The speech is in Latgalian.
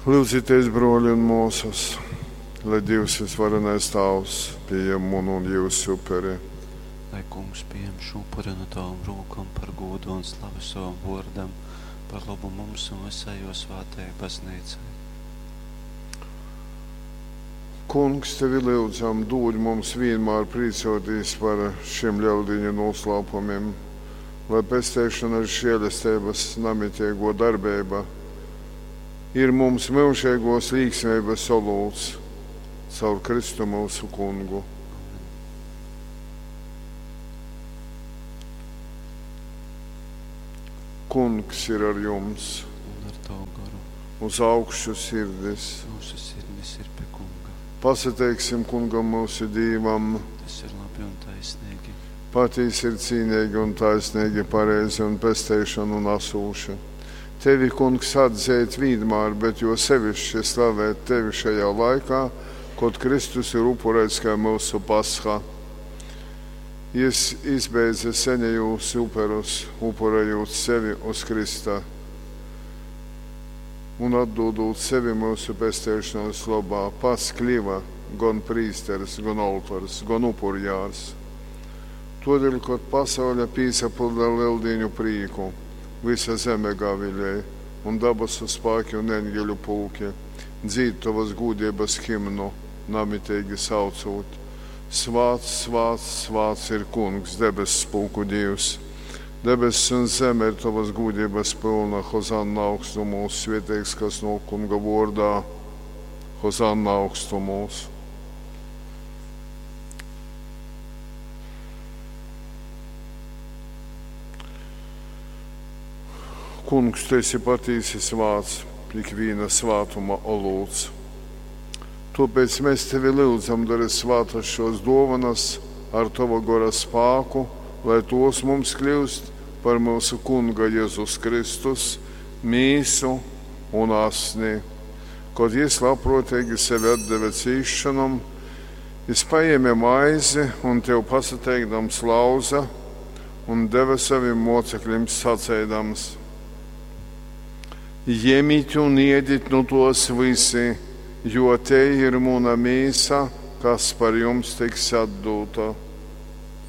Lyudzitēs, brōli un mōsas, lai Dīvs vysvarenais Tāvs pījem munu un jyusu uperi. Lai Kungs pījem šū upuri nu tovom rūkom par gūdu un slavi sovam vōrdam, par lobu mums un vysai jō svātajai Bazneicai. Kungs, tevi lyudzam, dūd mums vīnmār prīcōtīs par šim Leldīņu nūslāpumim, lai pesteišonas žēlesteibas namiteigō darbeiba ir mums myužeigōs līksmeibas olūts caur Kristu myusu Kungu. Amen. Kungs ir ar jums. Un ar tavu goru. Uz augšu sirdis. Mūsu sirdis ir pie Kunga. Pasateiksim Kungam myusu Dīvam. Tas ir labi un taisnīgi. Patīsi ir cīneigi un taisnīgi, pareizi un pesteišonu nasūši. Tevi, Kungs, atzeit vienmēr, bet jo sevišķi slavēt tevi šajā laikā, kod Kristus ir upurēts kā mūsu pasha. Jis izbeidza senejūs uperus, upurējot sevi uz Krista un atdodot sevi mūsu pesteišanas lobā, pats kļiva gan prīsteris, gan oltors, gan upurjārs. Todēļ, kod pasaule pīsapilda lieldīņu prīku, visa zeme gavilēja, un dabasu spēki un eņģeļu pulki dzīd tovas gūdības himnu, namitīgi saucot: Svāts, svāts, svāts ir Kungs, debess pulku Dievs. Debesis un zeme ir tovas gūdības pilna, Hozanna augstumos, svētīgs, kas nāk Kunga vārdā, Hozanna augstumos. Kungs, tu esi patīsi svāts, ikviena svātuma olūts. Tāpēc mēs tevi lūdzam, dari svātas šos dovanas ar tava gora spāku, lai tos mums kļūst par mūsu Kunga Jēzus Kristus mīsu un asni. Kad jis labprātīgi sevi atdeva cīšanam, jis paēma maizi un tev pasateikdams lauza un deva saviem mocekļiem sacēdams: Ņemiet un ēdiet nu tos visi, jo te ir mana mīsa, kas par jums tiks atdota.